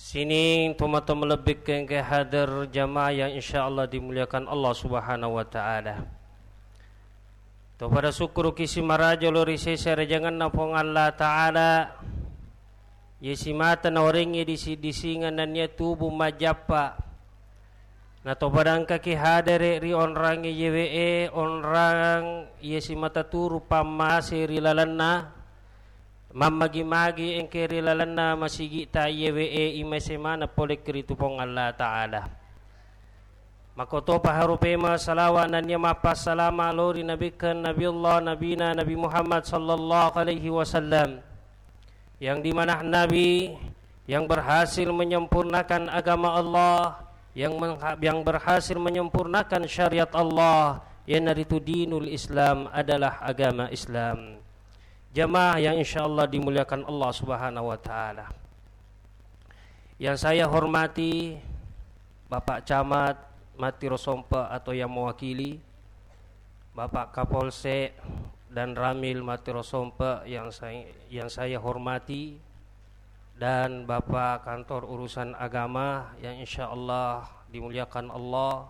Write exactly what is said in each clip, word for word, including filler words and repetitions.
Sining tomatoa malebbikkeng engka hadir jamaah yang insyaallah dimuliakan Allah Subhanahu wa Ta'ala. To pada sukkuruki simaraja lao ri sese arajangenna Puang Allah Ta'ala, iye simata naorengngi disi-, disingeng nennia tubu majjappa. Na to pada engkaki hadere ri onrangnge iyewe e, onrang iye simata turu pammase ri lalenna, mammagi-magi engke ri lalenna masigi'ta iyewe e, imase maneng pole ki ritu Puang Allah Ta'ala. Makkotopa harupema salawa nennia mappassalama lao ri nabikkeng Nabiullah Nabina Nabi Muhammad sallallahu alaihi wasallam, yang dimana Nabi yang berhasil menyempurnakan agama Allah, yang mengha-, yang berhasil menyempurnakan syariat Allah, iyanaritu dinul Islam, adalah agama Islam. Jamaah yang insyaallah dimuliakan Allah Subhanahu wa Ta'ala. Yang saya hormati Bapak Camat Mattiro Sompe atau yang mewakili, Bapak Kapolsek dan Ramil Mattiro Sompe yang saya, yang saya hormati, dan Bapak Kantor Urusan Agama yang insyaallah dimuliakan Allah,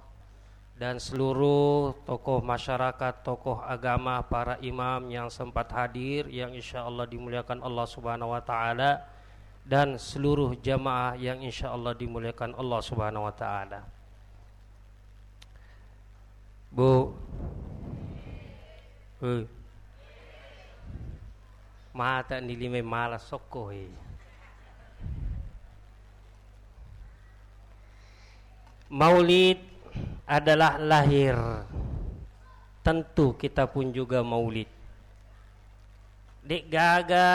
dan seluruh tokoh masyarakat, tokoh agama, para imam yang sempat hadir, yang insyaallah dimuliakan Allah Subhanahu wa Ta'ala, dan seluruh jamaah yang insyaallah dimuliakan Allah Subhanahu wa Ta'ala. Bu. Hei. Mata ni lima malas sokko, hei. Maulid adalah lahir. Tentu kita pun juga maulid. De'gaga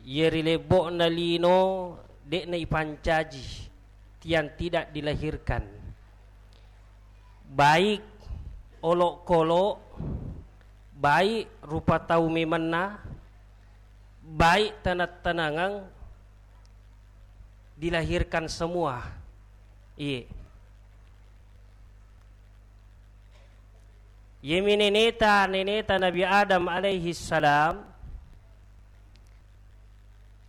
iye ri lebbo'na lino de'na ipancaji, yang tidak dilahirkan. Baik olokolo, baik rupa tau memenna, baik tenang-tenangan, dilahirkan semua. Iye. Yemi neneta, neneta Nabi Adam alaihi salam,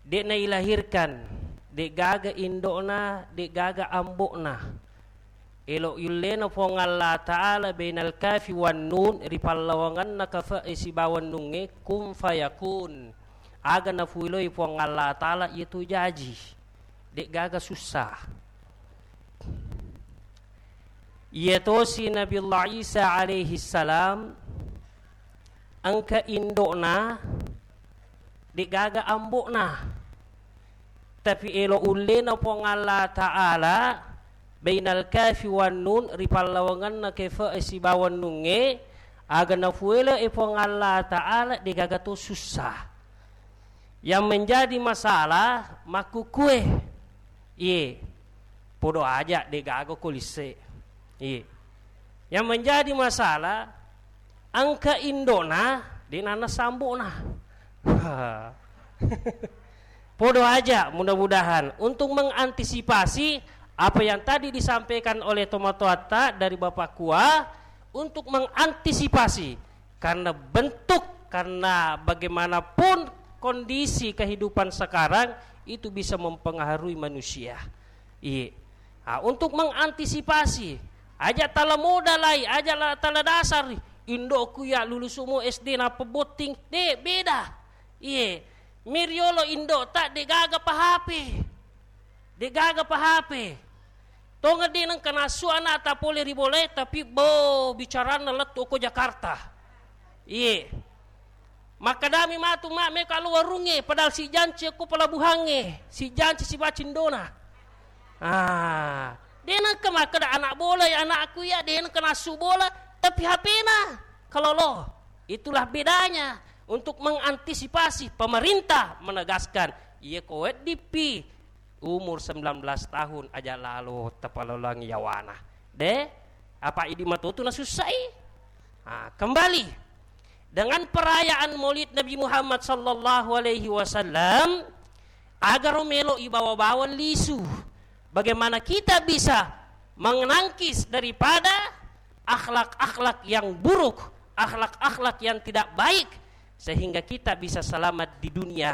de'na ilahirkan, de'gaga indo'na, de'gaga ambo'na. Elo yullena Puang Allah Ta'ala bainal kafi wan nun, ri pallawanganna kafe sibawa nungnge, kun fayakun. Aga nafuiloi Puang Allah Ta'ala, iyatu jaji. De'gaga sussa. Iyatosi Nabiullah Isa alaihi salam, engka indo'na, de'gaga ambo'na. Tapi elo ullena Puang Allah Ta'ala, bainal kafi wan nun, ri pallawanganna kafe sibawa nungnge, aga nafuele e Puang Allah Ta'ala, de'gaga to sussa. Yang menjadi masalah makkukue. Iye. Podo aja de'gaga ko lisse. Iye. Yang menjadi masalah, engka indo'na, de'na nessa ambo'na. Podo aja, mudah-mudahan untuk mengantisipasi apa yang tadi disampaikan oleh tomatoatta dari Bapak Kua, untuk mengantisipasi karena bentuk, karena bagaimanapun kondisi kehidupan sekarang itu bisa mempengaruhi manusia. Iye. Ah, untuk mengantisipasi, aja tala modalai, aja la-, tala dasar, indo'ku ya lulusumu S D nappa botting, de, beda. Iye. Meriolo indo'ta de'gaga pa H P. De'gaga pa H P. Tongeng de nengka nassu ana'ta pole ri bolae, tapi bo bicaranna lettu ko Jakarta. Iye. Makkedami matu ma meka lo warungnge, padahal sijanci ko pelabuhangnge, sijanci sibawa cindona. Ah, de nengka makkeda anak bola ya anakku ya, de nengka nassu bola, tapi H P-na kalolo. Itulah bedanya. Untuk mengantisipasi, pemerintah menegaskan, iye ko weddipi umur sembilan belas tahun aja lalo tapalolang yawana. De, apa idi matotu nasussai? Ah, kembali dengan perayaan Maulid Nabi Muhammad sallallahu alaihi wasallam, agaro melo ibawa-bawa lisu. Bagaimana kita bisa menangkis daripada akhlak-akhlak yang buruk, akhlak-akhlak yang tidak baik, sehingga kita bisa selamat di dunia